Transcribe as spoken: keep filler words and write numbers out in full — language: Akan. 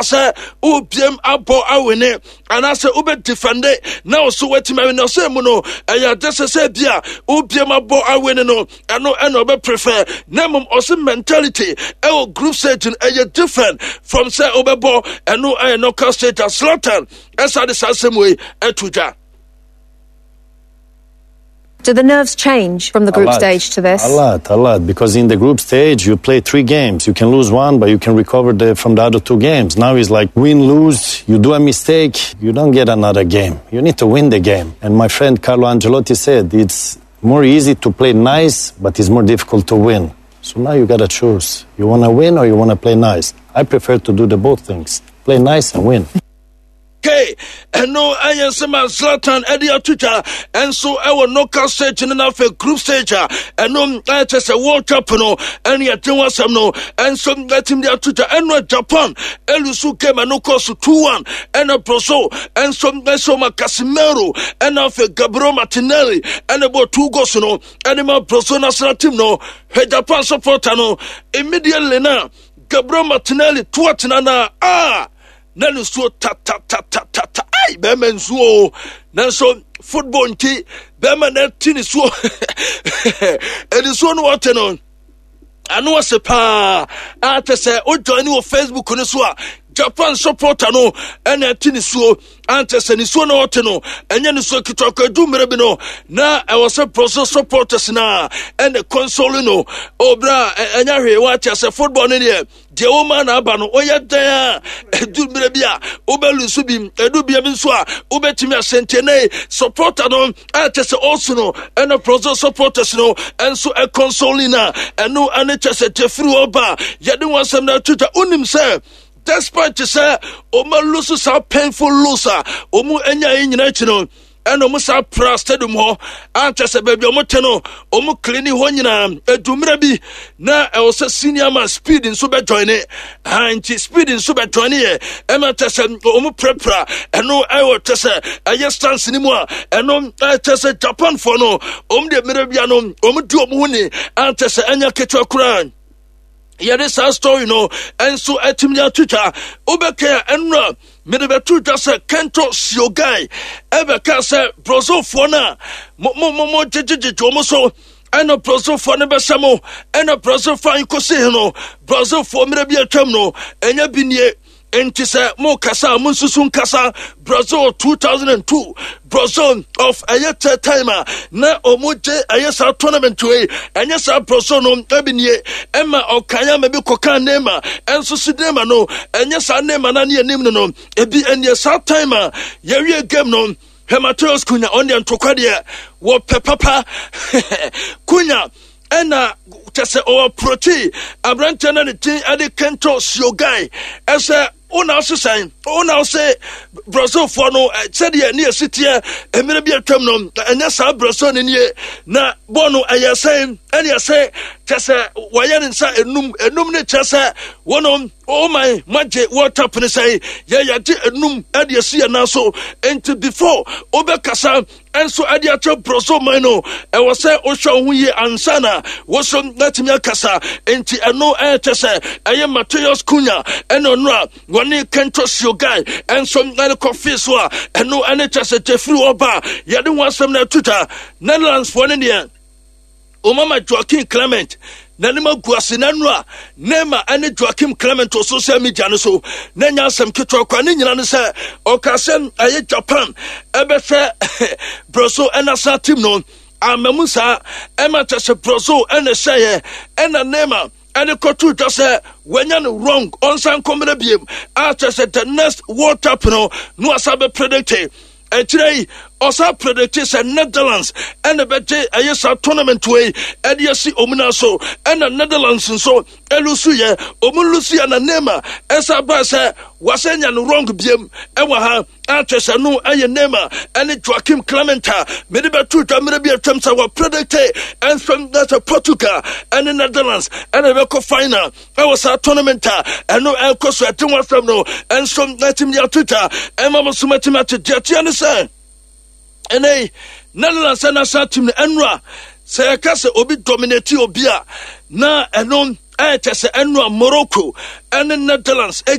Sɛ wobiem abɔ awene anaasɛ wobɛdefend na wo so woatumi awene, ɔsɛ mu no ɛyɛ ade sɛ sɛ bi a wobiem abɔ awene no, ɛno ɛna ɔbɛprefer. Na mmom ɔsɛ mentality ɛwɔ group stage no ɛyɛ different from sɛ wobɛbɔ ɛno ɛyɛ knockout stage. A Zlatan ɛsa de saa asɛm wei ɛto dwa. Do the nerves change from the group stage to this? A lot, a lot. Because in the group stage, you play three games. You can lose one, but you can recover the, from the other two games. Now it's like win, lose. You do a mistake, you don't get another game. You need to win the game. And my friend Carlo Ancelotti said it's more easy to play nice, but it's more difficult to win. So now you gotta choose. You wanna win or you wanna play nice? I prefer to do the both things. Play nice and win. Okay, ɛno ɛyɛ nsɛm a Zlatan ɛde ato twa ɛnso ɛwɔ knockout stage no, n'afɛ group stage a ɛno ɛkyɛ sɛ World Cup no ɛne yɛde ho asɛm no ɛnso ɛtumi de ato twa. Ɛno Japan ɛlose game, ɛno kɔ so two one, ɛna Brazil ɛnso ɛsɛ ɔma Casemiro ɛna afɛ Gabriel Martinelli ɛna bɔ two goals no ɛne ma Brazil national team no. Hwɛ Japan supporter no, immediately na Gabriel Martinelli to atena na a na ne nsuo tatatatata. Ai, bɛrima nsuo, nanso football nti bɛrima na ti ne suo ɛne nsuo no wɔte no ano ase paa. A kyɛ sɛ wojoin wɔ Facebook no so a, Japan supporter no ɛna ɛte ne suo ankyɛ sɛ ne suo na ɔte no ɛnyɛ ne suo ketewa kɔ. Edu mmerɛ bi no na ɛwɔ sɛ Brazil supporters na ɛna console no. Obra ɛnyɛ hwee, wɔakyɛ sɛ football no deɛ deɛ wɔma na aba no, ɔyɛ dan a ɛdu mmerɛ bi a wobɛlose bi, ɛdu bia bi nso a wobɛtumi ahyɛnkyɛnɛ supporter no a kyɛ sɛ ɔso no ɛna Brazil supporters no ɛnso ɛconsole no a ɛno ɛne kyɛ sɛ gyefiri hɔ ba. Yɛde wɔn asɛm no ato dwa. Wonim sɛ despite sɛ ɔma lose saa painful lose a ɔmu anya yi nyinaa akyi no, ɛna ɔmo saa pra stadium hɔ ankyɛ sɛ baabi a ɔmo te no, ɔmo clean hɔ nyinaa. Edummerɛ bi na ɛwɔ sɛ senior man Speed nso bɛ join ne ha, nti Speed nso bɛ join yɛ ɛma kyɛ sɛ ɔmo prapra ɛno ɛwɔ kyɛ sɛ ɛyɛ stance ne mu a ɛno ɛkyɛ sɛ Japanfoɔ no, ɔmo deɛ mmerɛ bia no ɔmo di ɔmo ho ni ankyɛ sɛ ɛnyɛ ketewa koraa. Yɛde saa story no ɛnso atumi atwitwa. Wobɛka a, ɛnora mede bɛto dwa sɛ Kento Shiogai ɛbɛka sɛ Brazilfoɔ no a mo gyegyegyegye ɔmo so ɛna Brazilfoɔ no bɛhyɛ mo ɛna Brazilfoɔ a nkɔsi no, Brazilfoɔ mmerɛ bi atwam no ɛnyɛ bi nie. Nti sɛ mo kasa a, mo nsusu nkasa Brazil two thousand and two, Brazil of ɛyɛ third time a na ɔmo gye ɛyɛ saa tournament wei, ɛnyɛ saa Brazil no ɛbi nie. Ɛma ɔkan ama bi kɔka Neymar ɛnso si Neymar no, ɛnyɛ saa Neymar na ne anim no no ebi ɛneɛ. Saa time a yɛwie game no, hwɛ Mateus Cunha, ɔno deɛ ntokwa deɛ wɔpɛ papa. Cunha ɛna kyɛ sɛ ɔwɔ proti aberanteɛ no ne din ɛde Kento Shiogai ɛsɛ wona ɔsesan wona ɔse Brazilfoɔ no sɛdeɛ ne yɛsi teɛ mmerɛ bi atwam no, ɛnyɛ saa Brazil no nie. Na bɔɔl no ɛyɛ sɛn ɛne ɛsɛ kyɛ sɛ wɔyɛ ne nsa enum enum ne kyerɛ sɛ wɔnom ɔman magye World Cup ne sɛn yɛyɛgye enum ɛde asi yɛn nan so. Nti before wobɛkasa ɛnso ɛde akyɛ Brazil man no, ɛwɔ sɛ wohwɛ wo ho yie ansa na woso natumi akasa. Nti ɛno ɛkyɛ sɛ ɛyɛ Mateus Cunha ɛne ɔno a wɔne Kento Shiogai ɛnso ɛne kɔfii so a ɛno ɛne kyɛ sɛ gyefiri hɔ ba a yɛde ho asɛm no ato dwa. Netherlandsfoɔ no deɛ, omama Joaquin Clement n'anim agu ase n'anu a Neymar ne Joaquin Clement wɔ social media no so na nya asɛm ketewa kwa ne nyina no sɛ ɔka sɛ ɛyɛ Japan ɛbɛhwɛ Brazil ɛnational team no amamu saa ɛma kyɛ sɛ Brazil ɛna ɛhyɛeɛ ɛna Neymar ɛde kɔto dwa sɛ wanya no wrong, ɔnsan nkɔmmerɛ biem a kyɛ sɛ the next World Cup no no asa bɛ predict. Akyerɛ yi ɔsa predict sɛ Netherlands ɛna bɛgye ɛyɛ saa tournament wei ɛde asi ɔmu na so, ɛna Netherlands nso ɛlose yɛ ɔmu lose yɛ na Neymar ɛsa baa sɛ wasɛ nya no wrong biem ɛwɔ ha akyɛ sɛ no ɛyɛ Neymar ɛne Joaquim Clement a mede bɛto dwa mmerɛ bi atwam sɛ wɔpredict ɛnso na sɛ Portugal ɛne Netherlands ɛna ɛbɛkɔ final ɛwɔ saa tournament a ɛno ɛkɔ so. Ɛte ho asɛm no ɛnso natumi de ato dwa ɛma mo so matumi ate deɛ teɛ ne sɛ ɛnɛ Netherlands national team no, ɛnora sɛ yɛka sɛ obi dominate obi a na ɛno ɛkyɛ sɛ ɛnora Morocco ɛne Netherlands.